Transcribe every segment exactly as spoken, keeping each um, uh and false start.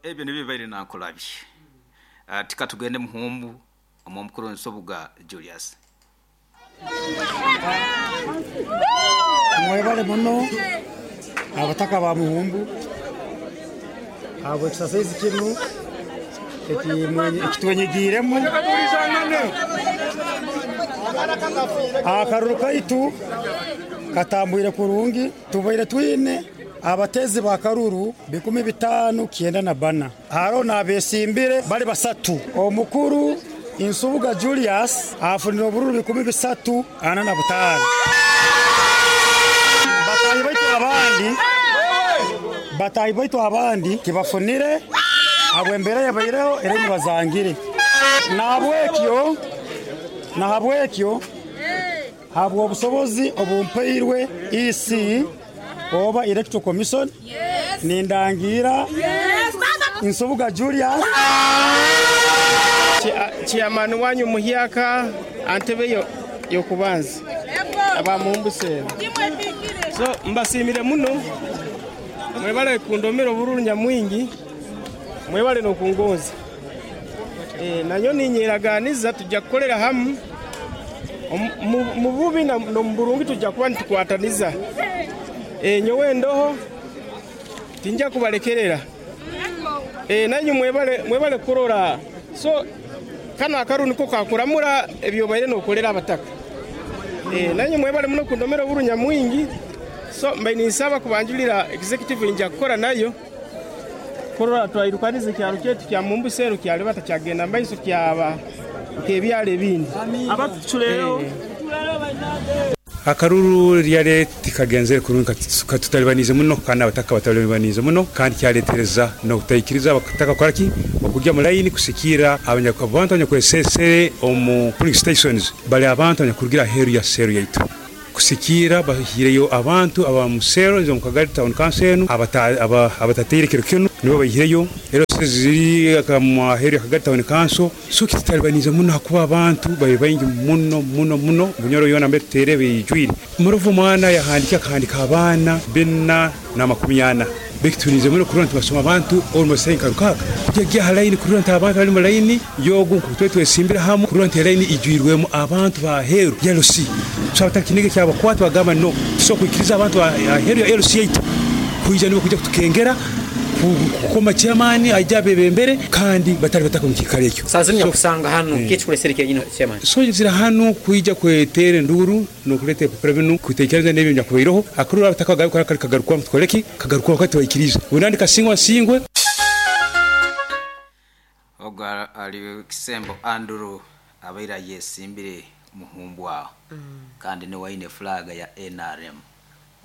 Ebyo nibyo bibaire nankolabye. uh, tikatugende Muhumbu omukuru Nsubuga Julius. Mwebale muno abataka ba Muhumbu abo exercise kinu ekitwenyigiremu akaruru kaitu katambwire kurungi. Tubaire twine abatezi ba karuru bikumi bitanu kienda na bana, haro nabesimbire bali basatu. Omukuru Nsubuga Julius afunira obururu bikumi bisatu ana na butano. Batahi baitu abandi batahi baitu abandi kibafunire abo embere yabaireho era nibazangire. Nahabwekyo nahabwekyo habwo obusobozi obumpairwe E C oba Electoral Commission nindangira Nsubuga Julius. Chairman wanyu muhyaka antebe yokubanza aba Muhumbu. So mbasimire muno, mwebale kundomera obururu nyamwingi, mwebale nokungoza. Eh nanyo ninyeraganiza tujja kukolera hamu mu bubi na mu burungi, tujja kuba nitukwataniza. Eh nyowe ndoho tinja kubalekerera. Eh nanyu mwebale mwebale kurora. So kano akaru niko kakuramura ebyo baire nokolera abataka. Eh nanyu mwebale muno kundomera oburu nyamwingi. So mbaye nisaba kubanjulira executive inja kukora nayo kurora twayirukanize kyalo kyetu kya Muhumbu Seru kyali batakyagenda mbaiso kyaba kebyale bindi abatuleyo. Akaruru ryare tikagenzere kurungi katutalibanize muno kandi abataka batalibanize muno kandi kyaletereza no kutayikiriza abataka koraki okujya mu line kusikira abanyakubantu abanyakwesesere omu polling stations bali abantu abanyakurugira heru ya seru yaitu kusikira bahireyo abantu aba musero nzo mu Kagari Town Council abatateire kiro kino nibo bahireyo rero ziri kama heru ya Kagari Town Council. So kitalibanize muno hakuba abantu bayi bayingi muno muno muno bunyoro yona mbetere bijwiri muruvu mwana yahandika akandika abana bina na makumi ana bekitunize muno kurona tubasoma abantu almost nka rukaka kujya ha line kurona abantu bari mu line yogu kutwe twesimbira hamwe kurona line ijwirwemo abantu ba heru ya L C. So abatakinige cyabo kwatu bagamba no so kwikiriza abantu ba heru ya L C eight kuija nibo kujya kutukengera kukoma chairman ajya bebembere kandi batari bataka mu kikare ekyo sasa ni kusanga hano kichi kulesereke nyino chairman. So nzira hano kuija kwetere nduru no kulete prevenu kutekereza n'ebyo nyakubiroho akurura abataka garuka kagaruka mutkoleki kagaruka wakati waikiriza unandi kasingwa singwe ogwa ali Kisembo Andrew abaira yesimbire Muhumbu aho mm. Kandi ni waine flag ya N R M.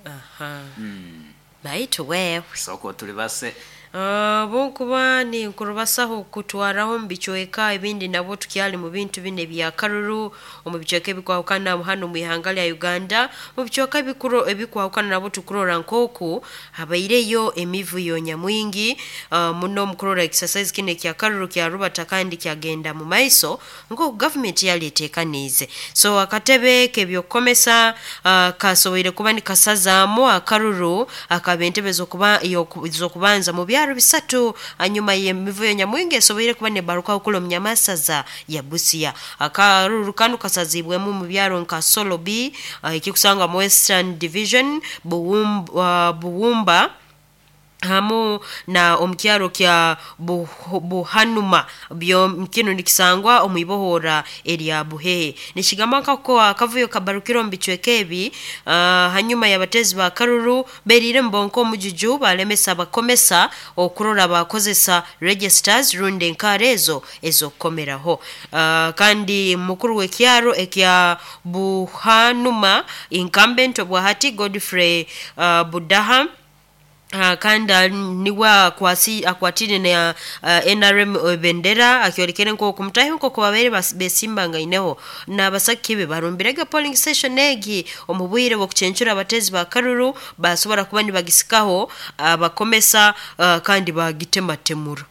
Aha. Mm. Baitu wewe soko tulibase Uh, bonkuba ni nkurubasaho kutwaraho mbichweka ebindi nabo tukyali mu bintu bine bya karuru omu bichweka ebikwahukana hano mu ihanga lya Uganda mu bichweka ebikuro ebikwahukana nabo tukurora nkoku habaireyo emivuyo nyamwingi uh, muno mukurora exercise kine kya karuru kya rubata kandi kyagenda mu maiso nko government yaletekanize. So akatebe kebyokomesa uh, kasoboire kuba ni kasazaamu akaruru akabentebe zokuba zokubanza mu byaro bisatu anyuma y'emivuyo nyamwingi esoboire kuba ne baruka okulo mnyamasaza ya Busia. Akaruru kanu kasazibwemu mu byaro nka Solobi uh, ikikusanga mu Western Division Buwumba, uh, Buwumba hamu na omukyaro kya buh, Buhanuma byo kino nikisangwa omuibohora erya Buhehe. Nishigamba ko akavuyo kabarukiro mbichweke ebi uh, hanyuma y'abatezi ba karuru berire mbonko mujuju balemesa bakomesa okurora bakozesa registers runde nkarezo ezokomeraho. Uh, kandi mukuru w'ekyaro ekya Buhanuma incumbent obwahati Godfrey uh, Budaha Uh, kanda niwa akwasi akwatire na uh, N R M bendera akyorekere nko kumutahi nko kubabere besimba ngaineho na basakibe barumbirega polling station egi omubwire bwo kucencura abatezi ba karuru basobora kuba nibagisikaho abakomesa uh, uh, kandi bagitematemura.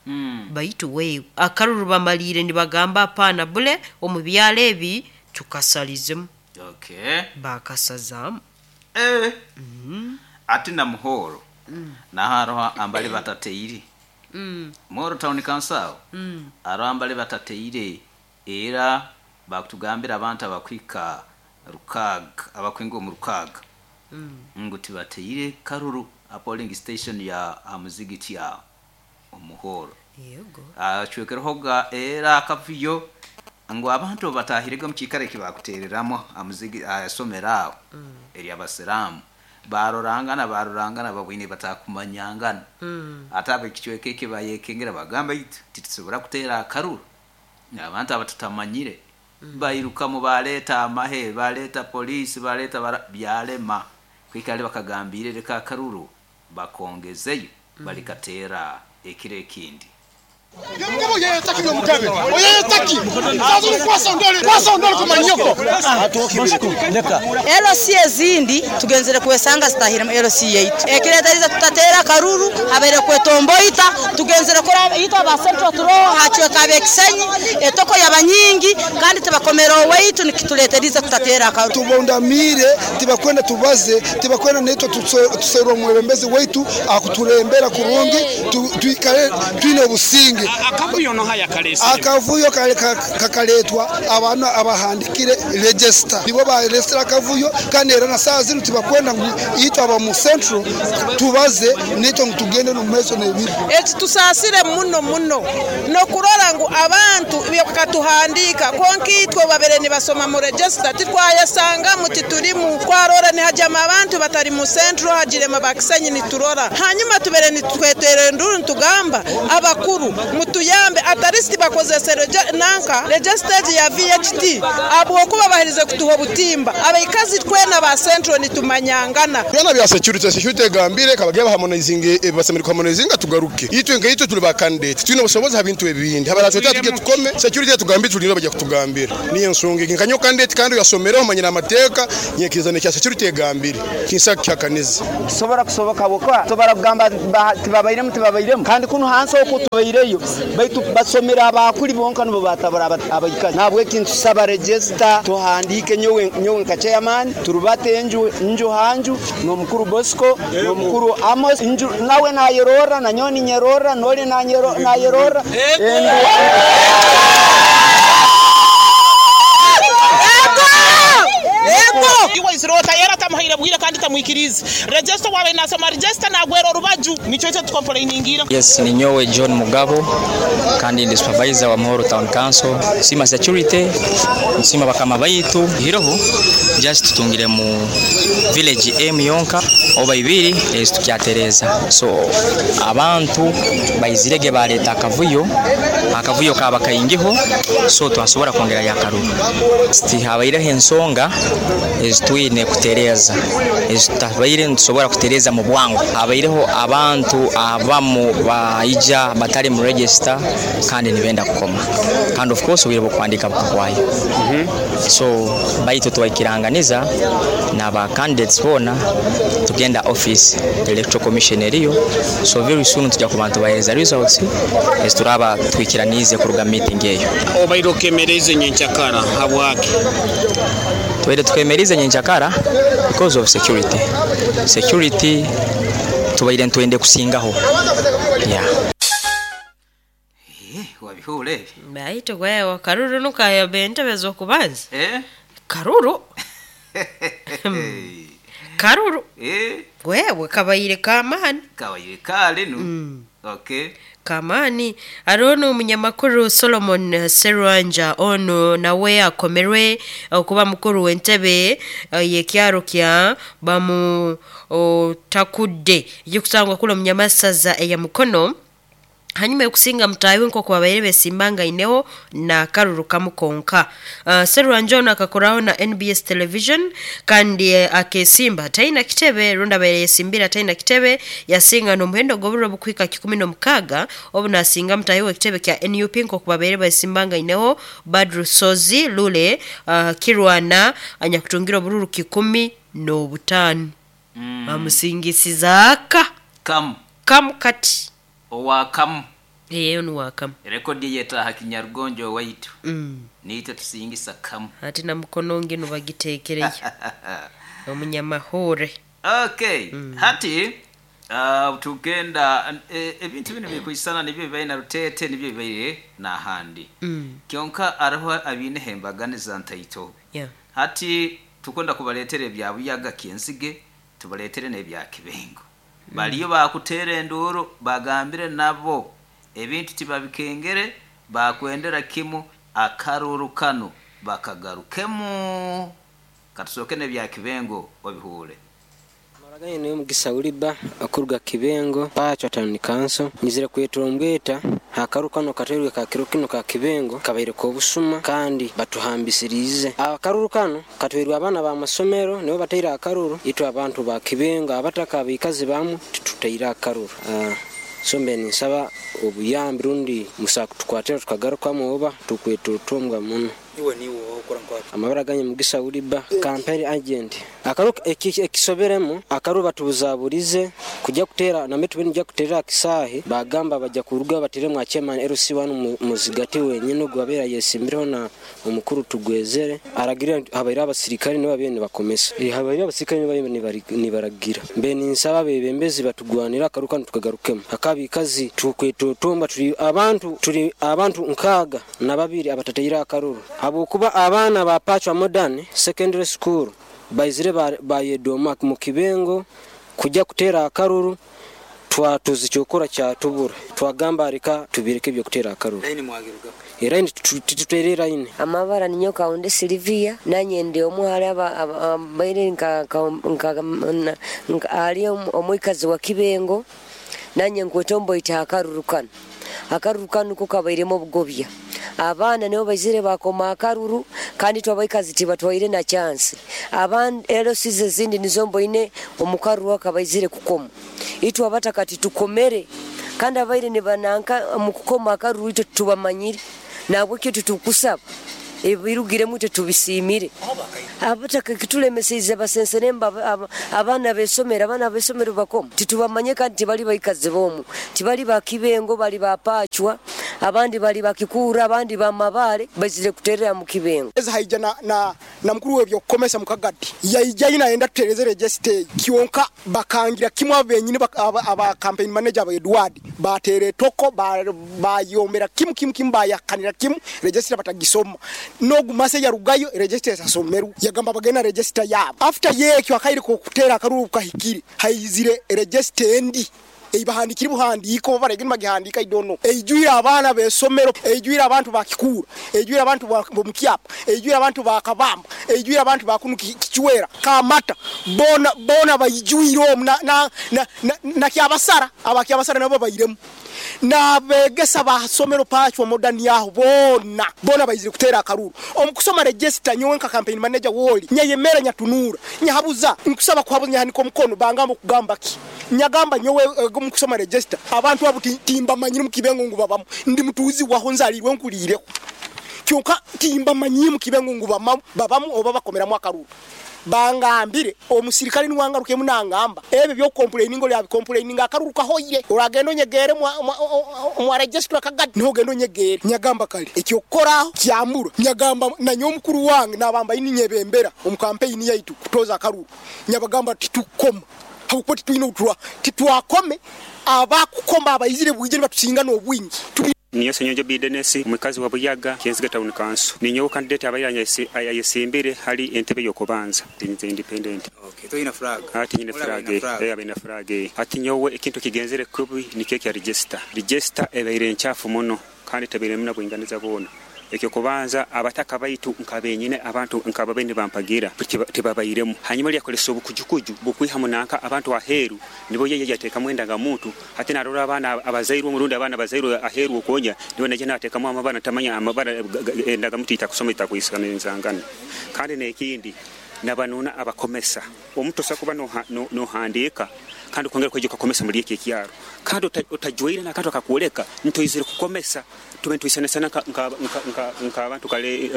Mm. Baitu we akaruru bamalire nibagamba apana bule omubyalo ebi tukasalizemu. Okay. Bakasazamu. Eh. Mm. Ati na muhoro. Mm. Na haroha ambali batateiri. Mm. Muhoro Town Council Mm. arambale batateire era bakutugambira abantu abakwika rukaga abakwinga mu rukaga Mm. ngo tibateire karuru a polling station ya amuzigiti ya omuhoro Yego. acwekerehoga era akavuyo ngo abantu batahirega mu kikare kibakutereramo amuzigi asomera aho eri abasiramu barorangana barorangana babwine batakumanyangana Mm. ate abekicweka eki bayekengera bagamba itu titusobora kuteera akaruru abantu abatutamanyire bairukamu baleeta amahe baleeta poliisi baleeta bara- byalema kwikale bakagambire reka akaruru bakongezeyo balikateera ekiro ekindi L C ezindi tugenzere kwesanga zitahiremu L C yaitu ekiretariza tutatera karuru habere kwetomboita tugenzere kora itwa ba central turoho hachweka abekisenyi etoko yabanyingi kandi tibakomera owaitu nikituleteriza tutatera karuru tubondamire tibakwenda tubaze tibakwenda netwe tuserwa omwebembezi waitu akuturembera kurungi tu- tuikale twine obusinge Akavuyo no haya kalesi. Akavuyo kale ka- kakaletwa abantu abahandikire register nibo baresera akavuyo kandi era na saa zino tibakwenda ngu itwe aba mu central tubaze netwe ngu tugende no meso nebiri Eki tusasire muno muno nokurora ngu abantu bakatuhandika konka itwe babere nibasoma mu register titwayasanga muti turimu twarora nihajama abantu batari mu central hagirema bakisenyi niturora hanyuma tubere nitwetere nduru nitugamba abakuru mutuyambe atarisi bakozese reje- nanka register ya V H T abwokuba baherize kutuha obutimba abaikazi twena ba central nitumanyangana byana bya security security egambire kabagiye baharmonizinge basemere kuharmonizinga tugaruke itwe nka itwe tuli ba candidate twine obusobozi habintu ebindi habara twe tujye tukome security tugambire tulino bajya kutugambira niyo nsonga nkanyo candidate kandi yasomeraho manyira amateka nyekirizana cya security egambire kinsa kyakaniza Kisobora kusoboka bokwa tobara kugamba ba- tibabairemu tibabairemu kandi kuno hansi okwo tubaireyo baitu basomera abakuli bonka nibo batabara aba- abaikazi nabweki ntusaba register tuhandike nyowe nyowe nka chairman turubate enju nju hanju n'omukuru Bosco n'omukuru Amos nju nawe nayerora na nyoni nyerora noli nanyero nayerora endu Iwe isirota era tamuhaire bwire kandi tamwikirize register wawe nasoma register nagwera orubaju nico cyo tukomplainingira. Yes, ni nyowe John Mugabo kandi ndi supervisor wa Muhoro Town Council. Sima security, nsima bakama baitu hiroho just tutungire mu village M yonka oba ibiri ezi tukyatereza. So abantu baizirege baleta akavuyo, akavuyo kaba kaingiho so twasobora kwongera yakaruru. Siti habaireho ensonga ezitwine kutereza ezitabaire nitusobora kutereza mu bwangu. Habaireho abantu abamu baija batari mu register kandi nibenda kukoma kandi of course obwire bw'okuhandika bukahwayo. So baitu twaikiranganiza n'aba candidates boona tugenda office electoral commission eriyo, so very soon tujya kuba tubahereza results ezituraba twikiranize kuruga meeting eyo. Obaire okemereze nyenchakara habwaki? Twere twemerize nyenchakara because of security. Security tubaire ntwende kusingaho. Yeah. Eh, wabihura ebi Baitu gwewe karuru nukayobe entebe z'okubanza. Eh? Karuru. Karuru. Eh? Gwewe kabaire kamani. Kabaire kale nu. Okay. Kamani hariho n'omunyamakuru Solomon Serwanja ono nawe akomerwe okuba mukuru w'entebe eh, y'ekyaro kya bamu otakudde ekikusangwa kula omunyamasaza eya Mukono hanyuma yokusinga mutahi nk'oku babaire besimbangaineho na karuru kamu konka. Uh, Serwanja ono akakoraho na N B S television kandi eh, akesimba ataina kitebe rundi abaire yesimbira ataina kitebe yasinga n'omuhendo gw'oburo bukwika kikumi n'omukaga obu nasinga mutahi w'ekitebe kya N U P nk'oku babaire besimbangaineho Badru Sozi Lule uh, Kirwana anyakutungira obururu kikumi n'obutaano. Mm. Bamusingisiza aka Kamu. Kamu kati Owakamu. Eyo ni wakamu. Rekodi yetaha kinyarugonjo waitu. Mm. Niite tusingisa kamu. Ati na mukono ngino bagitekereyo. Omunyamahore. Okay. Mm. Hati Uh, tugenda ebintu e, bino bikwisana nibyo bibaye na Rutete nibyo bibaye n'ahandi mm. Kyonka araho abine hembaganiza ntaito yeah. Hati tukonda kubaletere bya Buyaga Kyensige tubaletere n'ebya Kibengo mm. Baliyo bakutera enduru bagambire nabo ebintu tibabikengere bakwendera kimu akaruru kano bakagarukemu katusoke n'ebya Kibengo obihure. Maraganye niyo Mugisa Uliba akuruga Kibengo Pachwa Town Council nizira kweturombweta akaru kano katerwe ka kiro kino ka Kibengo kabaire ko busuma kandi batuhambisirize akaruru kano katwerwa abana ba masomero nibo bateira akaruru itwa abantu ba Kibengo abataka bikazi bamu tituteira akaruru uh, sombe nisaba obuyambi rundi musakutukwatira tukagaruka oba tukwetutumbwa muno. Iwe niwo okora nkwa amabara ganye Mugisa Uliba campaign agent akaru ekisoberemo akaru batubuzaburize kujya kutera na metu binjya kutera kisahi bagamba bajya kuruga batere mwa chairman L C one muzigati wenyine gwabera yesimbiraho na omukuru tugwezere aragira habaira abasirikare niba bene bakomesa eh habaira abasirikare niba bene nibaragira mbe ninsaba bebembezi batugwanira akaru kanu tukagarukemo akabikazi tukwetutumba turi abantu turi abantu nkaga na babiri abatateira akaruru abukuba abana ba Pachwa Modern Secondary School baizire bayedoma mu Kibengo kujya kutera akaruru twatuzi cyokora cyatubura twagamba reka tubireke byo kutera akaruru line mwagiruga line tuterera ine amabara ninyo kaunde Silvia nanye ndi omuhali aba baire nka nka ali omuikazi wa Kibengo nanye nkwetombo ita akaruru kano akaruru kano kukabairemo bugobya abaana nibo baizire bakoma akaruru kandi twabaikazi tibatwaire na chance abandi L C zindi nizombo ine omukaruru akabaizire kukoma itwa abatakati tukomere kandi abaire ne bananka mukukoma akaruru ito tubamanyire nabwo kyo tutukusaba ebirugiremu tubisimire abataka kitulemeseize basenseremba abana besomera abana besomero bakoma titubamanye kandi tibali baikazi bomu tibali bakibengo bali bapachwa abandi bali bakikura abandi bamabale bazire kuterera mu Kibengo eza haija na na, na mukuru webyo komesa mukagati yaija ina enda tutereze register kionka bakangira kimwe abenyine aba, aba campaign manager ba Edward batere toko bayombera ba kimu kimu kimu bayakanira kimu register batagisoma nogumase ya rugayo register sasomeru yagamba bagena register yabo after yekyo akairi ko kutera akaruru kahikiri haizire register endi eibahandikiri buhandiko baregeni bagihandika I don't know eijuira abana besomero eijuira abantu bakikura eijuira abantu bomukyapa eijuira abantu bakabamba eijuira abantu bakunu kichwera kamata bona bona bayijuira na na na, na, na kyabasara abakyabasara nabo bayiremu na begesa basomero Pachwa Modern yaho bona bona bayizire kutera akaruru omukusoma register nyowe nka campaign manager woli nyayemera nyatunura nyahabuza nkusaba kuhabuza nyahaniko mukono bangamba kugamba ki nyagamba nyowe uh, mukusoma register abantu abo timba manyiri mukibengo ngo babamo ndi mutuzi waho nzalirwe nkulireko kyonka timba manyiri mukibengo ngo babamo babamo oba bakomeramo akaruru bangambire omusirikale niwangaruke munangamba ebyo byo complaining ngo lya complaining akaruru kahoyire uragendo nyegere mwa register kagati niho gendo nyegere nyagamba kale ekyo koraho kyamura nyagamba nanyo mukuru wange nabamba ininyebembera omu campaign yaitu kutoza akaruru nyabagamba titukoma hakuko tituino utwa titwakome abakukoma abayizire bwijere batusinga no bwingi. Niyo Senyonjo Bidenesi mukazi wa Buyaga Kyensige Town Council ninyo candidate abayiranya ayesimbire hali entebe yokubanza nze independent. Okay, toyina flag ati nyine flag eh abina flag ati nyowe ekintu kigenzere kubi nikeke ya register register ebaire nchafu muno kandi tabire muna bwinganiza bona ekyo kubanza abataka baitu nkabenyine abantu nkababene bampagira tibabayiremu hanyuma lyakolesa obukujukuju bukwiha munanka abantu aheru nibo yeye yateka mwenda nga muntu ate narora abana abazairwe murundi abana bazairwe aheru okonya nibo naje nateka mu amabana tamanya amabana endaga mutu itakusoma itakuisana nzangana kandi nekindi nabanuna abakomesa omuntu sakuba no no handika kandi kongera kweje kukomesa muri iki kyaro kandi utajuire na kantu akakuoleka ntoizire kukomesa tube ntuisana sana nka nka nka abantu kale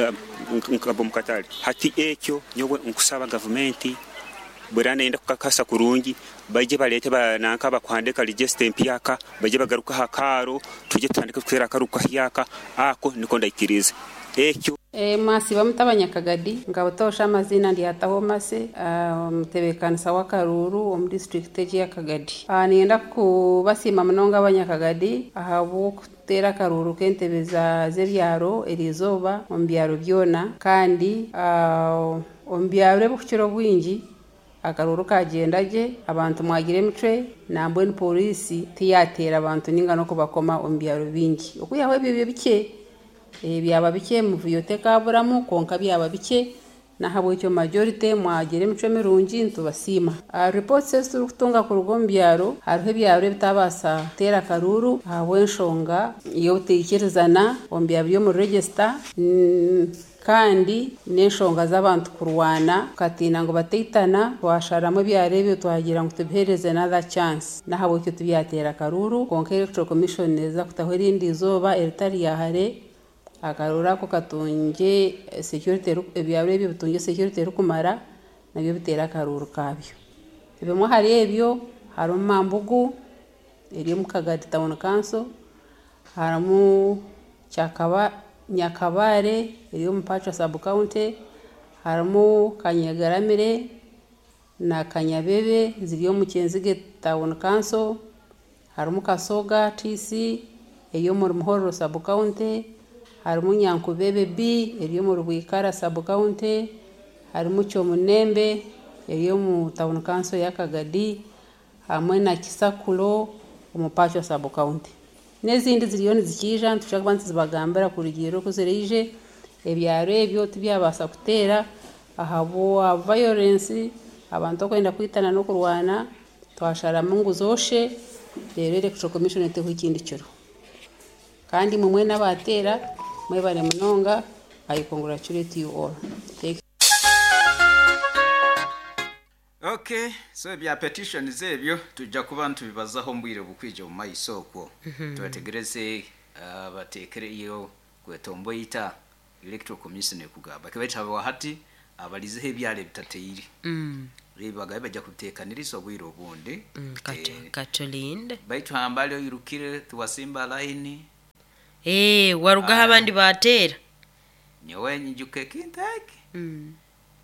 nka bomukatali hati ekyo nyowe nkusaba government bwerana enda kukakasa kurungi baje balete bananka bakwandika register empyaka baje bagaruka hakaro tuje tutandike kutera akaruka hyaka ako niko ndaikiriza. Ekyo E, mwasiba mutabanyakagadi nkabutosha amazina ndyataho mase omutebekanisa wa Karuru omu district egi ya Kagadi. Ah, niyenda kubasiima munonga abanyakagadi ahabw'okuteera akaruru k'entebe za z'ebyaro eriizooba omu byaro byona kandi ah, omu byaro ebikukira obwingi akaruru kagyenda gye, abantu mwagira emicwe nambwenu polisi tiyateera abantu ninga n'okubakoma omu byaro bingi. Okwihaho ebyo byo bikye, eh, byaba bikye muvuyo tekaburamu konka byaba bikye, nahabwekyo majority mwagira emicwe mirungi nitubasiima. Uh, reports ezi turikutunga kuruga omu byaro, hariho ebyaro ebitabaasa kuteera akaruru ahabw'enshonga y'obutaikirizana omu byaro by'omu register, mm, kandi n'enshonga z'abantu kurwana tukatiina ngu bataitana, twasharamu ebyaro ebyo twagira ngu tubiheereze another chance, nahabwekyo tibyateera akaruru. Konka Electoral Commission neeza kutaho erindi izooba eritari rya hare, akaruru ako katungye security, ebyaro ebyo bitungye security erikumara nabyo biteere akaruru kabyo. Ebimwe ahari ebyo harimu Mambugu eri omu Kagadi Town Council, harimu Kyakaba Nyakabare eri omu Pacho Sub County, harimu Kanyegaramire na Kanyabebe ziri omu Kyenzige Town Council, harimu Kasoga T C eri omu Muhorro Sub County, harimu Nyankubebe B eri omu Rwikara Sub County, harimu Kyomunembe eri omu Town Council ya Kagadi, hamwe na Kisakulo omu Pacho Sub County. N'ezindi ziriyo nizikiija nitushaka kuba nituzibagambira kurugiirira oku ziraije. Ebyaro ebyo tibyabaasa kuteera ahabwa violence, abantu okwenda kwitana n'okurwana, twasharamu ngu zoshe, reero Electoral Commission eteho ekindi kiro. Kandi mwe mwena abateera mwebare munonga. I congratulate you all. Thank you. Okay, so ebya petitions ebyo tujja kuba ntubibazaho mbwire bukwije mu maiso okwo. Mhm. Tubategereze uh, bateekereyo kwetomboita Electoral Commission ekugamba kibaita hati abalizeho ebyalo ebitateire. Mm. Bagabe bajja kuteekaniriza obwire obundi. Mm, katu, katulinde Baitu hambali oyirukire tuwasimba line. Eh, warugaho abandi bateera. Nyowe nyijuka ekintu eki. Mm.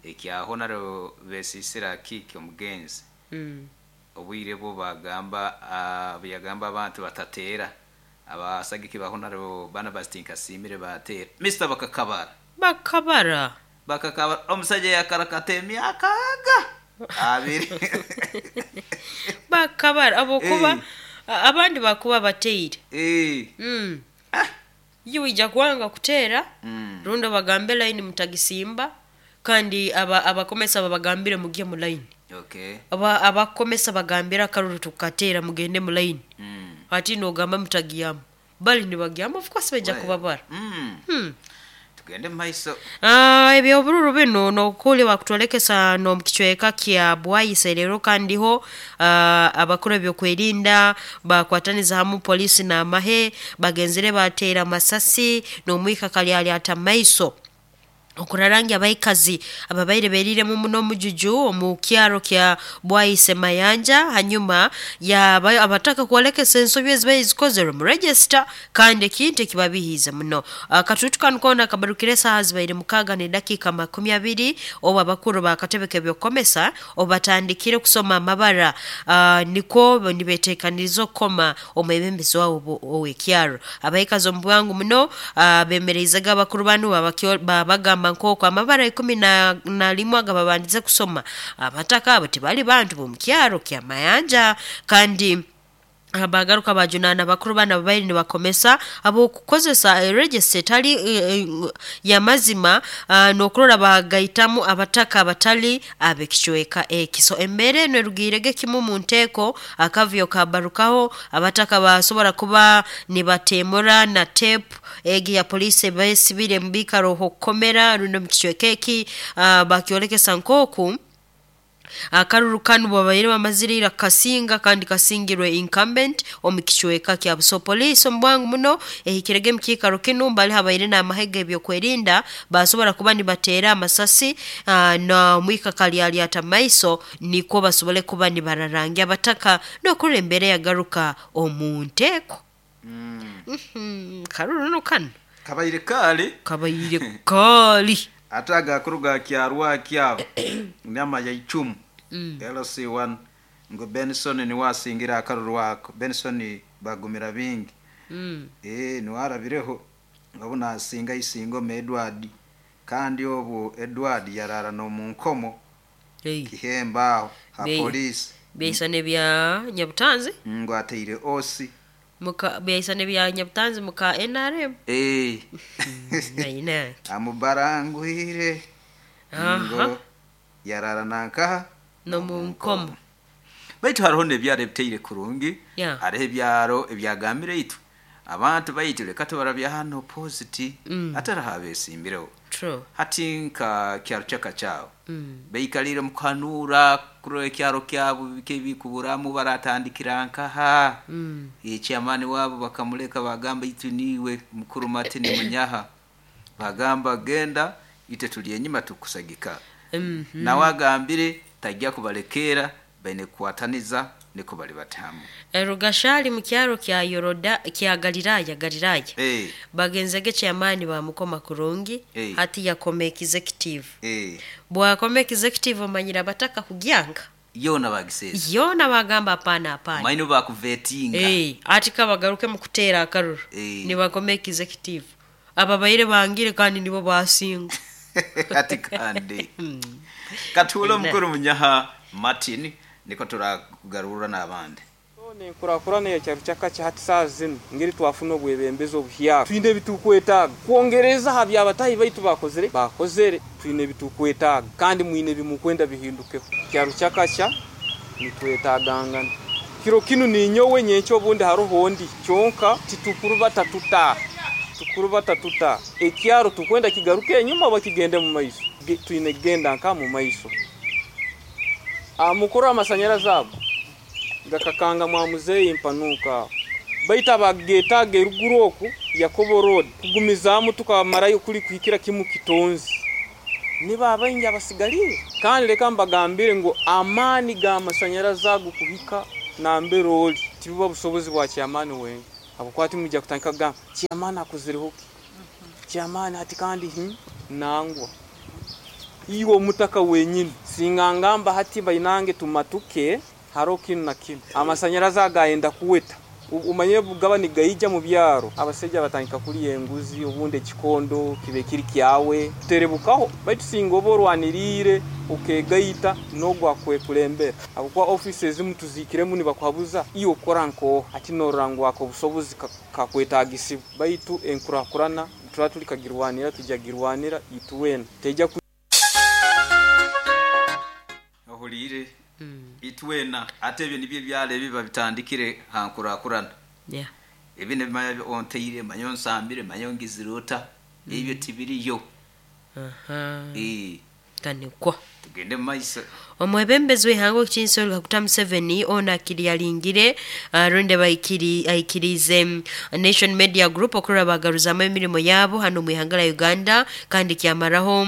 Ekyaho naro besisira kiki omugenzi. Mm. Obwire bwo bagamba uh, byagamba abantu batateera abasagiki baho naro bana basinkasimire bateera Mister bakakabara bakabara bakakabara omusajja yakarakata emyaka aga abiri bakabara abokuba Eh. abandi bakuba bateire. Eh. Mm. Ah. Yiwija kwanga kuteera. Mm. Rundo bagambe line mutagisimba kandi aba abakomesa babagambire mugiye mu line. Okay. Aba abakomesa bagambira akaruru tukateera mugende mu line. Mm. Ati nogamba mutagiyamu. Bali nibagiyamu of course bajja Well. kubabara. Mm. Hmm. Tugende mu maiso. Ah, ebyobururu bino nokuli bakutolekesa n'omukichweka kya Bwaise leero kandiho uh, abakuru ebyokwerinda bakwataniza hamu polisi n'amahe bagenzere bateera masasi n'omwika kalyali atamaiso okurarangi abaikazi ababaire beriremu muno omujuju omu kyaro kya Bwaise Mayanja hanyuma ya abataka kuolekesa ensobi ezibaire zikozerwe mu register kandi ekintu ekibabihiize muno. Akatutu kanu koona kabarukire esaaha zibaire mukaaga n'edakiika makumi abiri obu abakuru bakatebe k'ebyokukomesa obu batandikire kusoma amabara uh, nikwo nibeteekaniriza okukoma omwebembezi waabo ow'ekyaro. Abaikazi omu bwangu muno uh, bemereizege abakuru banu babagamba nk'oku amabara ikumi na, na limwe agababandize kusoma abataka abo tibali bantu b'omukyaro kya Mayanja kandi abagaruka bajunana bakuru bana babaire nibakomesa abokukozesa register etali e, e, ya mazima uh, n'okurora bagaitamu abataka abatali ab'ekicweka ekiso. Embeera eno erugirege kimu mu nteeko akavyo kabarukaho abataka basobora kuba nibatemura na tape egi ya polisi besibire mu biikaro okukomera runo mu kicweka eki uh, bakyolekesa nk'oku akaruru kanu babaire bamazirira kasinga kandi kasingirwe incumbent omu kicweka kya Buso. Police omu bwangu muno ehikirege mu kiikaro kinu mbali habaire n'amahega ebyokwerinda basobora kuba nibateera amasasi uh, na mwika kalyali atamaiso nikwo basobole kuba nibararangia abataka n'okurora embeera yagaruka omu nteeko. Mm. Mm-hmm. Karuru no kanu Kabaire kali. Kabaire kali. Ate agakuru ga kyarwa kyabo nyama ya icumu Mm. L C one ngo Benson ni wasingira akaruru wako. Benson bagumira bingi. Mm. Eh, niwarabireho obu nasinga isingo me Edward, kandi obu Edward yarara no mu nkomo kihemba aho ha Be- polisi Byaisana ebya Nyabutanzi ngo ateire osi muka byaisana ebya Nyabutanzi muka N R M. Eh, Naina amubarangwire Aha. ngo yarara nankaha no mu nkomo. Baitu hariho nebyaro ebiteire kurungi. Yeah. Hariho ebyaro ebyagambire itu abantu baitu leka tubarabya hano positi. Mm. Atari habesimbireho. True. Hati nka kyaro kyakacyawo Mm. baikalire mukuhanura kurora ekyaro kyabo bikebikuburamu baratandikira nkaha. Mm. Ekyamani wabo bakamuleka bagamba itu niwe mukuru Martin Munyaha, bagamba genda ite tuli enyuma tukusagika. Mm -hmm. Nawe agambire tajja kubalekera baine kukwataniza niko bali batamu. Rugashali mu kyaro kya Yoroda kya Galilaya Galilaya. Eh. Bagenzege kyamani bamukoma kurungi. Eh. Hati yakoma executive. Eh. Bwakoma executive omanyira bataka kugyanga. Yona bagiseza. Yona bagamba hapana hapana. Maino bakuvetinga. Eh, ati kabagaruke mu kuteera akaruru. Eh. Ni bakoma executive. Ababaire bangire kandi nibo basinga. Ati kandi. Katulo mukuru Munyaha Martin niko turagarura n'abandi. Nenkurakurana ya kyaro kyakacha hati saa zinu ngeri twafuna obwebembezi obuhyaka twine ebitukwetaaga kwongereza ha byabatahi baitu bakozere bakozere twine ebitukwetaaga kandi mwine ebimukwenda bihindukeho. Kyaro kyakacha nitwetaagangana kiro kinu ninyowe nyenkyo obundi haroho ondi kyonka titukuru batatuta tukuru batatuta ekyaro tukwenda kigaruke enyuma bakigende mu maiso. Twine kugenda nka mu maiso. Amukuru amasanyarazi ago gakakanga mwa muzeyi mpanuka baita bagetaga eruguru oku Yakobo Road kugumizaamu tukamarayo kuli kuhikira kimu kitonzi niba abaingi abasigalire. Kandi leka mbagambire ngo amani ga masanyarazi ago kuhika nambere oli tibuba busobozi bwa kyamani wenga abukwati mujja kutandika kugamba kyamani akuzireho ki kyamani hati kandi hmm, nangwa iwo mutaka wenyini singangamba hati bainange tumatuke haro kinu na kinu amasanyarazi agayenda kuweta umanye bugaba ni gaija mu byaro abasajja batandika kuli enguzi obundi ekikondo kibe kiri kyawe terebukaho baitu singa oborwanirire okegaita nogwa kwekulembera abukwa offices mutuzikiremu nibakuhabuza iyo okora nko ati norangwa ko busobozi kakwetagisibu baitu enkurakurana tuba tuli kagirwanira tujagirwanira ituwena teja ohulire. Mm. Itwena ate ebyo nibyo byale biba bitandikire hankurakurana. Yeah. Ebi ne onteire manyo nsambire manyo ngizirota. Mm. Ebyo tibiriyo. Aha. Eh. Kanekwa. Tugende maiso. Omwebembezi w'ihango kinsolo Kaguta Museveni ona akiri yalingire uh, runde baikiri aikirize Nation Media Group okuraba bagaruzamu emirimo yabo hano mu ihanga la Uganda kandi kyamaraho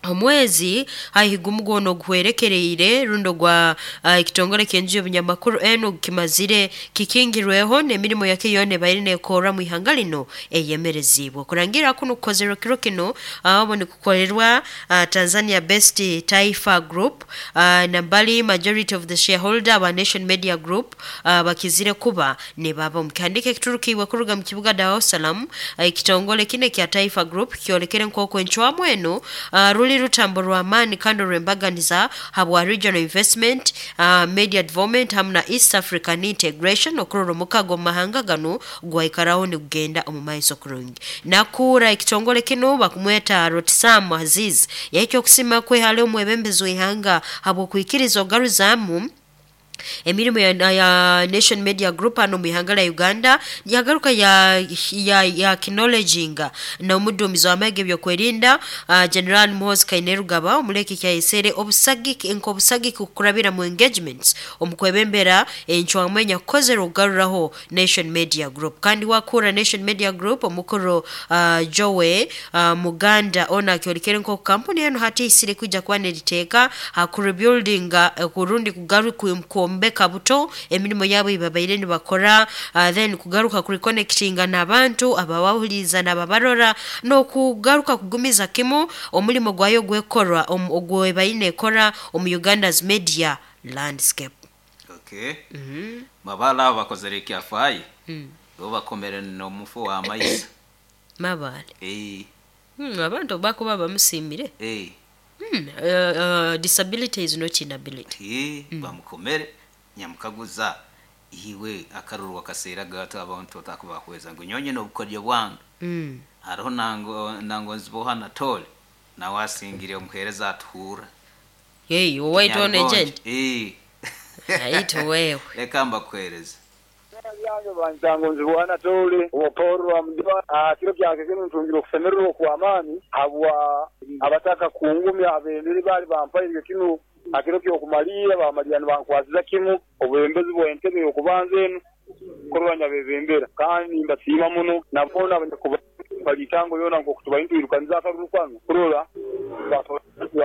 omwezi haihigumugono oguhwerekereire rundo gwa uh, ekitongole kyenju y'obunyamakuru eno kimazire kikingirweho n'emirimo yake yone baire nekora mu ihanga lino eyemerezibwe kurangira kuno kukozerwa kiro kino abo ni kukorerwa uh, Tanzania Best Taifa Group uh, nambali majority of the shareholder wa Nation Media Group uh, bakizire kuba ne baba mukandike kiturukiwe kuruga mu kibuga Dar es Salaam ekitongole uh, kine kya Taifa Group kyolekere nkoko enchwamu eno uh, ruli rutambo rwa amani kandi rwembaganiza habwa regional investment uh, media development hamwe na East African integration okurora omukago mahanga gano gwaikaraho ni kugenda omu maiso kurungi nakura ekitongole kino bakumweta Rotsam Aziz yaikyo okusima kwehale omwebembezi w'ihanga habw'okwikiriza ogaruzamu emirimu ya, ya Nation Media Group hano mu ihanga la Uganda yagaruka ya ya, ya acknowledginga na omudumizi w'amage byokwerinda uh, General Muhoozi Kainerugaba omuleki kyayesere obusagiki nk'obusagiki kukurabira mu engagements omukwebembera enchwamwenya kukozera ogaruraho Nation Media Group kandi wakura Nation Media Group omukuru uh, Joe uh, Muganda ona akyolikere nko kampuni eno hati isire kuja kwa neriteeka ha ku rebuilding uh, kurundi kugaru ku Omu Beka Buto emirimo yabo ibabaire nibakora, uh, then kugaruka kureconnectinga n'abantu ababahuliza n'ababarora, n'okugaruka kugumiza kimu omulimo gwayo gwekorwa ogwebaine ekora omu Uganda's media landscape. Okay, mabala abo bakozere ekyafayo. Mm. Bo bakomere n'omufu wa maisa. Mabale. Eh. Hmm, abantu bakuba bamusimire. Eh. Hmm, uh, uh, disability is not inability. Eh, bamukomere nyamukaguza iwe akaruru wakaseera gato abantu otakubakweza ngu nyonye n'obukodyo bwange. Mm. Hariho nango nango nziboha natole nawe asingire omuheereza atuhura. Hey, white one agent. Eh. Aito wewe. Reka mbakuhereze. Byange banjango nzibwana tole oporo wa mdiwa kiro byange kino ntungiro kusemererwa kwa amani habwa abataka kungumya abenderi bali bampaire kino akiro kyo kumalira bamalira nibankwaziza kimu obwembezi bw'entebe yokubanza eno kurwanya bebembera kandi mbasiima muno nabona abanyakuba balitango yona nkokutuba intwirukaniza akaruru kwange kurora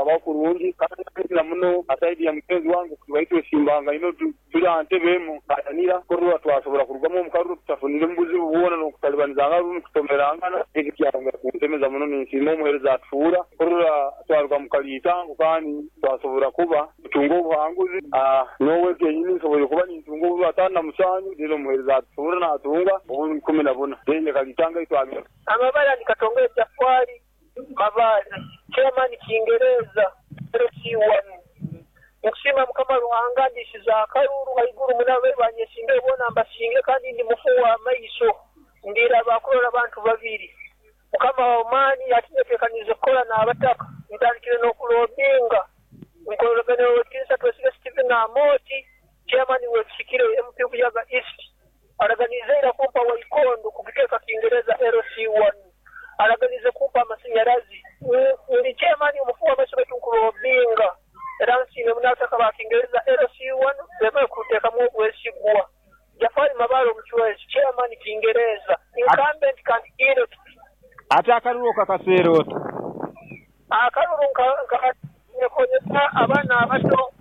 abaho kurungi kandi na muno asaidi ya mugenzi wange kutuba itwesimbanga ino turi aha ntebe emu atanira kurora twasobora kurugamu omu karuru tutafunire mu buzibu bwona n'okutalibanizanga rundi kutomerangana. Eki kyarongera kunsemeza muno, ninsiima omuheereza atufuura kurora twaruga mu kaliitango kandi twasobora kuba tutunga obuhanguzi. Nowe kenyini nsoboire kuba nintunga obu ataano na musanju, rero omuheereza atufuura natunga obu ikumi na buna then kaliitango eitwagira. Amabala ni Katongole Jafari Mabale, chairman Kiingereza L C one. Nkusima Mukama Ruhanga ndishiza akaruru haiguru munabe banyesinde bona mbasinge, kandi ndi mufu wa maiso ndira bakurora abantu babiri. Mukama wa mani yatinyetekanize kukola n'abataka ntandikire n'okulobinga nkorogane wekinsa twesige Stephen Amoti, chairman wekisikire M P Buyaga East, araganize ira kumpa waikondo kugiteka Kiingereza L C one, araganize kumpa amasinyarazi. Ndi chairman omufu wa maiso betu nkulobinga era nsine munataka ba Kiingereza L C one bema kuteekamu obwesigwa. Jafari Mabalo Omuchwezi, chairman Kiingereza, incumbent can elect. Ate akaruru kakaseera ota? Akaruru nka abaana abato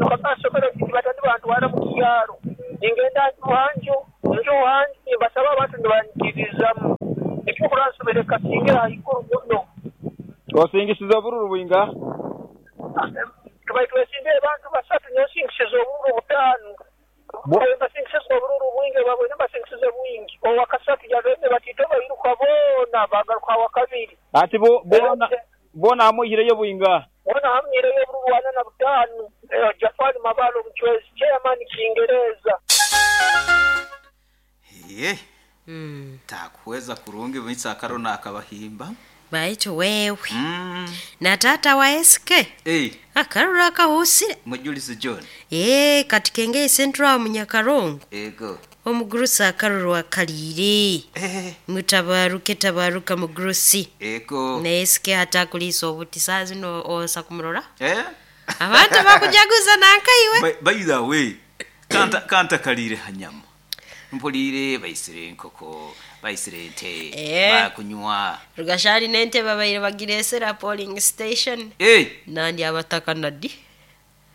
obanosomero batandi bantwara mu kyaro, ningenda njuhanju njuhanju nimbasaba abantu nibanyikirizamu ekyokuransobere kasingira haiguru muno. Osingisiza obururu bwinga? Tubaire twesindire abantu basatu, nyosingisiza obururu butaano. Mbasingisiza obururu bwingi babwine mbasingisize bwingi owakasatu yabene batito bairuka boona bagaruka awakabiri. Ati bo bona bona amwihireyo bwinga? Bona hamwihireyo obururu bwana na butaano. Jafari Mabalo Omuchwezi, chairman Kiingereza. Ye. Mm. Takuweza kurungi mwitsa akarona akabahimba. Baitu wewe. Mm. Na tata wa S K. Eh. Akaruru akahusire. Mujulisi John. Eh, katikenge Central Munyakarongo. Ego. Omugurusa akaruru akalire. Eh. Mutabaruke tabaruka mugurusi. Ego. Na S K hatakulisa obuti saa zino osa kumurora. Eh? Abantu bakujaguza nankaiwe. By, by the way, kanta kanta kalire hanyama. Mpulire baisire enkoko, baisire ente, eh, bakunywa. Rugashari nente babaire bagiresera polling station. Eh. Nandi abataka nadi.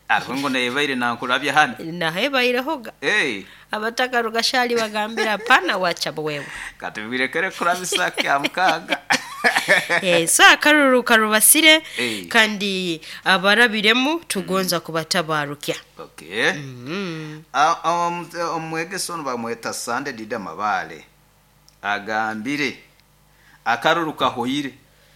Aho ngo nebaire nankulabya hano. Nahebaire hoga. Eh. Abataka rugashari bagambira pana wacha wewe. Katubirekere kurabisa kya mukaga. Eh, so akaruru karubasire. Hey. Kandi abarabiremu tugonza mm. kubatabarukya. Okay. Mm -hmm. Omwegeso bamweta Sande Dida Mabale agambire akaruru kahoyire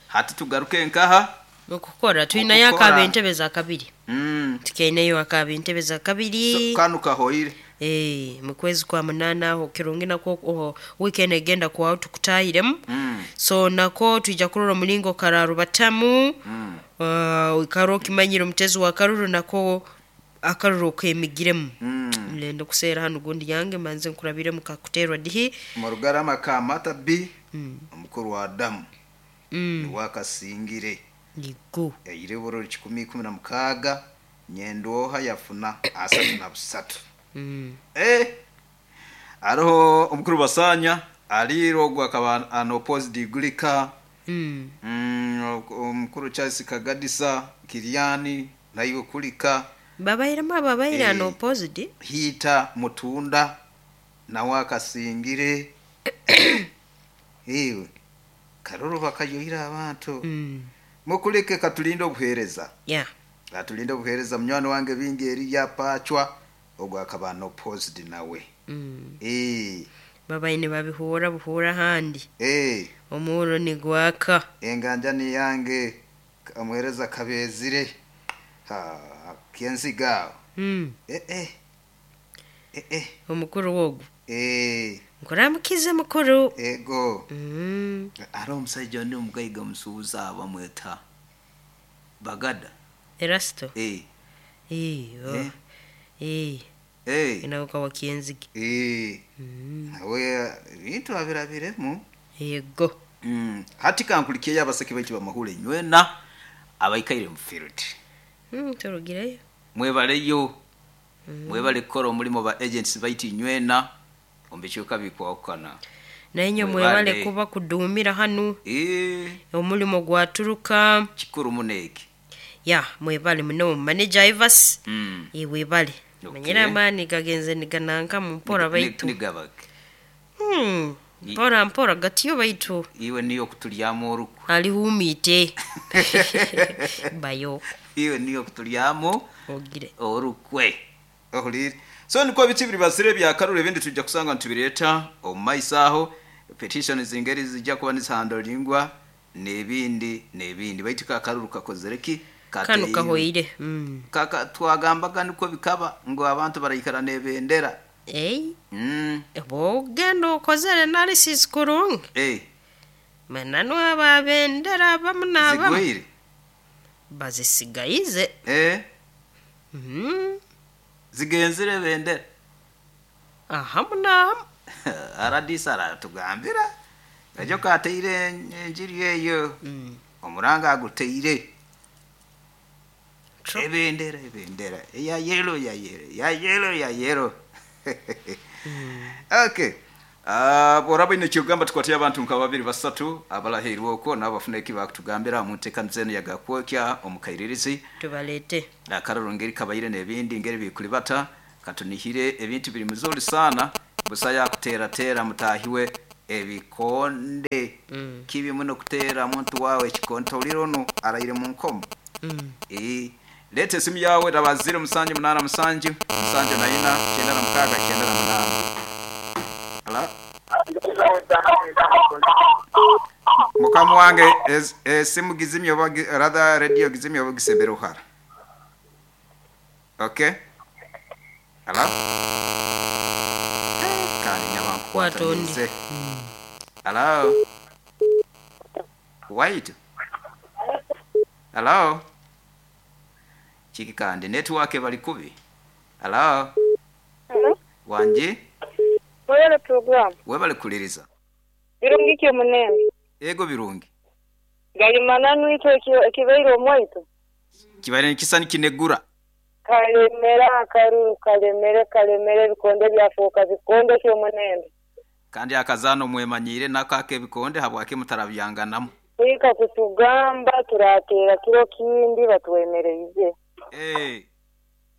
hati tugaruke nkaha mukukora tuina yakaba entebe za kabiri. Mm. Tukeneyo akaba entebe za kabiri. So, kanu kahoyire. Eh, mukwezi kwa munana aho kirungi nako oh, weekend egenda kwa tukutahiremu. Mm. So nako tuija kurora mulingo kararu batamu. Mm. Uh, ikaro kimanyiro mtezo wa karuru nako akaruru kemigiremu. Mm. Mlendo kusera hano gundi yange manze nkurabire mukakuterwa dihi. Murugarama ka Mata B. Mm. Omukuru wa Adamu. Mm. Wakasingire. Nigo. Yaire bururu kikumi ikumi na mukaga nyendoha yafuna asatu na busatu. Mm. Eh. Aroho omukuru basanya alirogwa akaba an opposed degree ka. Mm. Mm, omukuru Charles Kagadisa Kiriani nayo kulika Babairemu ababaire Eh. unopposed. Hiita Mutunda nawe akasingire. Ewe karuru bakayohira abantu. Mukuleke katulinde obuheereza. Yeah. Katulinde obuheereza munywani wange bingi eri yapachwa ogwo akaba unopposed nawe. Mm. Eh. Babaine babihuura buhuura handi. Eh. Omuuro nigwaka. Enganja ni yange amuhereza kabezire. Ha kenziga. Mm. Eh eh. Eh eh. Omukuru wogu. Eh. Nkuramukize mukuru. Ego. Mm. Ari omusajja ondi omugaiga musuubuzi bamweta Bagada. Erasto. Eh. Eh. Oh. Eh. Eh. Eh. Inaoka wa Kienzige. Eh. Nawe ebintu abirabiremu. Yego. Mm. Hati kankulikiye abaseke baitu bamahule nywena abaikaire mu field. Mm, turugireyo. Mwebaleyo. Mwebale kukora omulimu ba agents baitu nywena ombikyuka bikwawukana. Naye Mwebale. mwebale kuba kudumira hanu. Eh. Omulimo gwaturuka. Kikuru muneki. Ya, mwebale muno manager Ivas. Mm. Eh, webale. Okay. Manyira amani gagenze nigananka mu mpora baitu. Nigabake. Hmm. Mpora mpora gatiyo baitu. Iwe niyo kutulyamu oruku. Alihuumite. Bayo. Iwe niyo kutulyamu ogire orukwe. Ohulire. So niko biti biri basire bya karure ebindi tujja kusanga ntubireta omumaiso aho petition zingeri zijja kuba nizihandolingwa n'ebindi n'ebindi baitu ka karuru kakozere ki Kano kahoire. Mm. Kaka twagambaga niko bikaba ngo abantu barayikara n'ebendera. Ei. Mm. Bogenda okozere analysis kurungi. Eh. Mananu ababendera abamu n'abamu. Zigwire. Bazisigayize. Eh. Mm. Zigenzire bendera. Ahamu n'ahamu. Aradisa aratugambira. Ejo kateire enjiri eyo. Mm. Omuranga aguteire. Ebendera ebendera. Ya yellow ya yellow. Ya yellow ya yellow. Okay. Ah uh, boraba ine kyogamba tukwatira abantu nka babiri basatu abalahirwe okwo nabafuna ekibakutugambira mu nteekaniza eno yagakwokya omukairirizi tubalete akararo ngeri kabayire n'ebindi ngeri bikulibata katunihire ebintu biri muzuri sana busaya kutera tera mutahiwe ebikonde. Mm. Kibi muno kutera muntu wawe ekikonto olirono arayire mu nkomo. Mm. Eh lete simu yawe raba zero musanju munana musanju musanju na ina kyenda na mukaga kyenda na munana. Ala Mukamu wange esimu gizimye oba rather radio gizimye oba gisembere uhara. Okay? Ala Kani nyabanku Watondi. Hello. Wait. Hello. Chiki kandi network bali kubi. Hello. Hello. Wanji? Webale program. Webale kuliriza. Birungi kyo munene. Ego birungi. Gali mananu ito ekibaire omwaito. Kibaire nikisani kinegura. Kalemera akaruru kalemere kalemere bikonde byafuka bikonde kyo munene. Kandi akazano mwemanyire nakake bikonde habwake mutarabyanganamu. Kwika kutugamba turatera kiro kindi batwemereye. Eh.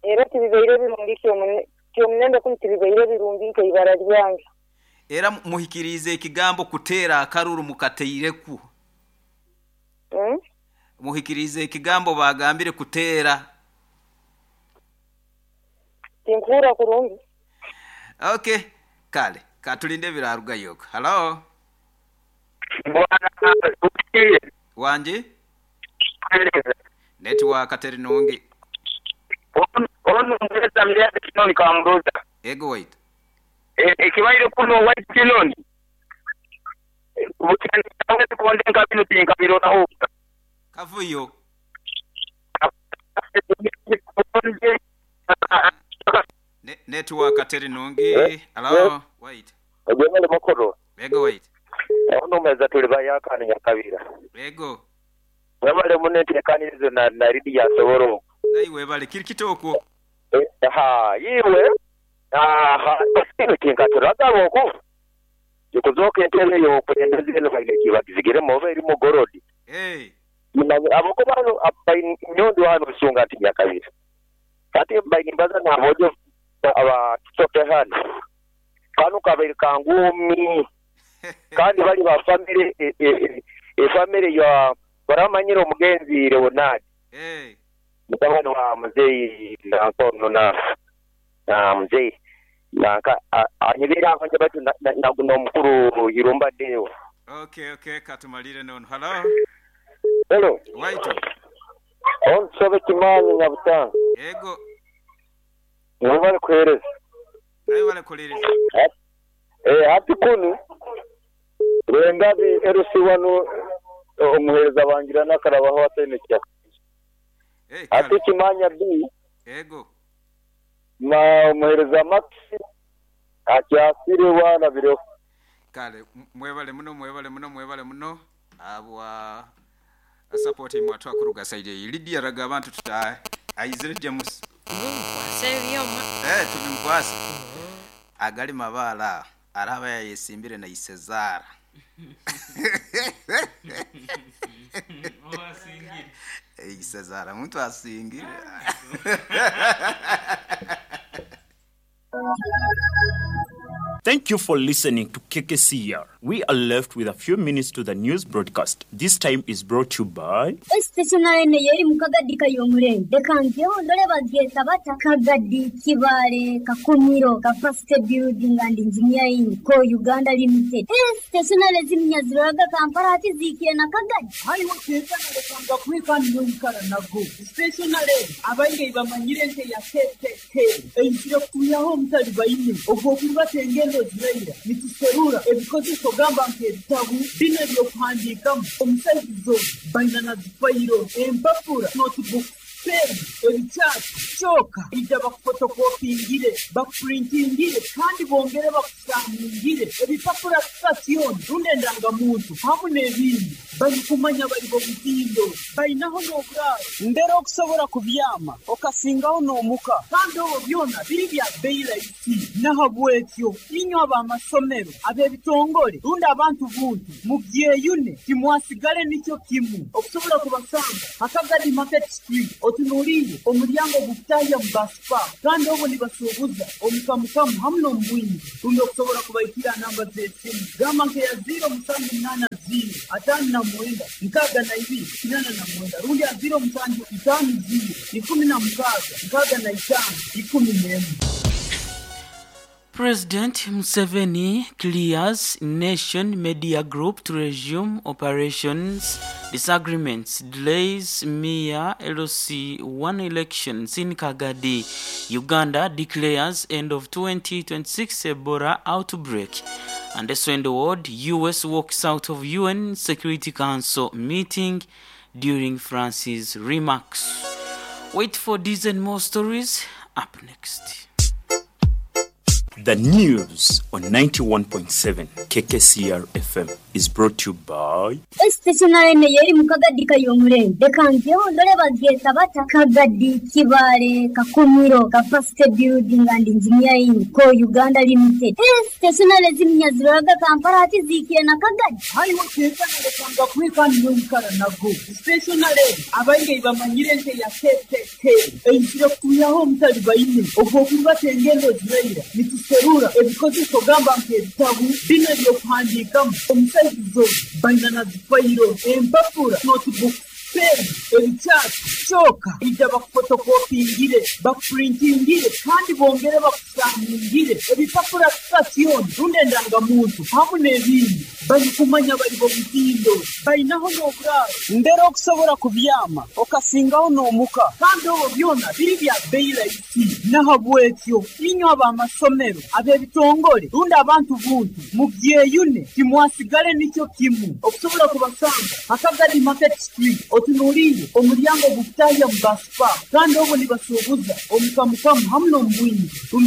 Era tibibaire birungi kyo munene. Kyo munene kumtiribaire birungi nke ibara lyange. Era muhikirize ekigambo kutera akaruru mukateireku. Mm? Muhikirize ekigambo bagambire kutera. Tinkura kurungi. Okay. Kale, katulinde biraruga yoko. Hello. Bwana ukiye. Wanji? Network ateri nungi. Ono mweza mliaze kinoni kwa mruza. Ego wait. Ekibaire kuno white kinoni. Bukani tukonde nkabino tinkabiro na hoka. Kavuyo. Ne network ateri nungi. Hello. Wait. Ojemele mokoro. Ego wait. Ono mweza tuli bayakani nyakabira. Ego. Webale munete kanirizo na na ridi ya soboro. Naiwe bale kiri kitoko. Eh ha yiwe. Aha kino kinkaturaga boko. Yokuzoka entebe yo kuendeze no kaile kibagizigire mobe iri mugorodi. Eh. Aboko bano abainyondo hano sunga ati nyakabira. Ati bainimbaza nabojo aba tusoke hano kanu kabaire kangumi kandi bali ba family e, e, e family ya baramanyira omugenzi Leonard eh mutabani wa mzee na nkono na na mzee nanka anyibira anje batu na guno mukuru Irumba Deo. Okay, okay, katumalire nono. Hello. Hello. Waito. On sobe kimanyi nyabutanga. Ego. Mwebale kuhereza. Nayo bale kulereza. Eh hati kunu Rwengabi L C one omuhereza bangira nakarabaho atene kya. Eh hati kimanya B. Ego. Ma omuhereza Max akyasire wana biro. Kale mwebale muno mwebale muno mwebale muno abwa support imwe atwakuruga side Lydia raga abantu tuta aizire James. Mkwase byoma. Eh tubimkwasa. Agali mabala araba yayesimbire na Isezara. Oasingire. Isezara muntu asingire. Thank you for listening to K K C R. We are left with a few minutes to the news broadcast. This time is brought to you by Stationary yeri mukagadi kayomure. Dekangeho ndole bageta bata Kagadi Kibale Kakumiro Capacity Building and Engineering Co Uganda Limited. Stationary ziminyaziraga Kampala ati zikire na Kagadi. Hayi wakeka na kwika nyonkara nago. Stationary abainge bamanyire nte ya K K K. Einjira kuyaho mutali bayine. Ogwo tengendo ziraira nituserura ebikozeso gamba nk'ebitabu bino ebyokuhandiikamu omusaizizo baina na zifayiro empapura notebook pen ebikyati kyoka ija bakufotokopingire bakupurintingire kandi bongere bakusamungire ebipapura sitasioni rundi endangamuntu hamu n'ebindi balikumanya bali bomutindo bainaho n'oburaaro mbere okusobola kubyama okasingaho n'omuka kandi obwo byona biri bya bbeeyi rahisi nahabwekyo inywe ab'amasomero ab'ebitongole rundi abantu buntu mubyeyune timwasigale nikyo kimu okusobola kubasanga Akagadi Market Street otunuulire omulyango gukutahya mu baspa kandi obwo nibasuubuza omukamukamu hamu n'omubwingi rundi okusobola kubaikira namba z'esimu gamba nkeya ziro musanju munaana ziro ataano na mwenda nkaaga na ibiri kinana na mwenda rundi ya ziro musanju itaano ziro ikumi na mukaaga nkaaga na itaano ikumi n'emu. President Museveni clears Nation Media Group to resume operations. Disagreements delays mere L C one elections in Kagadi. Uganda declares end of twenty twenty-six Ebola outbreak. And also in the world, U S walks out of U N Security Council meeting during France's remarks. Wait for these and more stories up next. The news on ninety-one point seven K K C R F M is brought to you by Stationary yeri mukagadi kayomure. Dekangeho ndole bageta bata Kagadi Kibale Kakumiro Capacity Building and Engineering Co Uganda Limited. Stationary ziminyaziraga Kampala ati zikire na Kagadi. Hayi wakeka na kwika nyonkara nago. Stationary abainge bamanyire nte ya K K K. Einjira kuyaho mutali bayine. Ogwo kuba tengendo ziraira. Nituserura ebikozeso gamba nk'ebitabu bino ebyokuhandiikamu omusaizizo baina na zifayiro empapura notebook pen ebikyati kyoka ija bakufotokopingire bakupurintingire kandi bongere bakusamungire ebipapura sitasioni rundi endangamuntu hamu n'ebindi balikumanya bali bomutindo bainaho n'oburaaro mbere okusobola kubyama okasingaho n'omuka kandi obwo byona biri bya bbeeyi rahisi nahabwekyo inywe ab'amasomero ab'ebitongole rundi abantu buntu mubyeyune timwasigale nikyo kimu okusobola kubasanga Akagadi Market Street otunuulire omulyango gukutahya mu baspa kandi obwo nibasuubuza omukamukamu hamu n'omubwingi.